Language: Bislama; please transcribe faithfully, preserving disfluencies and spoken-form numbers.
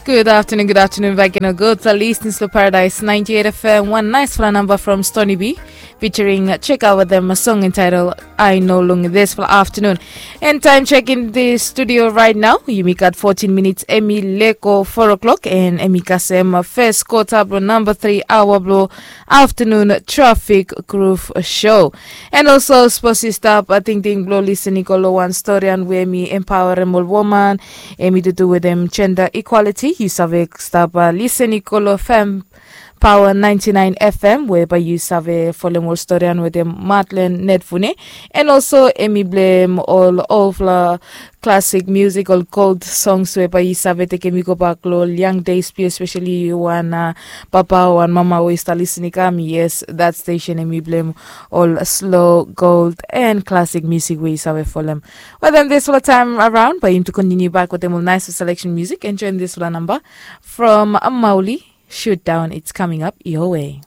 Good afternoon, good afternoon back in a good for listening to Paradise ninety-eight F M. One nice for a number from Stony B featuring Cheka with them a song entitled I Know Lung this for afternoon. And time check in the studio right now. Yumi got fourteen minutes. Emi leko four o'clock and Emi kasem first quarter bro number three hour bro afternoon traffic groove show. And also supposed to stop a ting ting bro listening kolo one story and where me empower them all woman. Emi to do with them gender equality. You save stop uh, listening kolo fam Power ninety-nine F M, whereby you save follow more story and with them Matlen Netfune. And also Emi blame all of the classic musical gold songs whereby you save take Emi go back lo young days, especially you one uh, papa one mama we start listening come. Yes, that station Emi blame all slow gold and classic music we you save follow them. Well then this whole time around, but him to continue back with them all nice selection music and join this whole number from Mauli. Shoot down, it's coming up your way.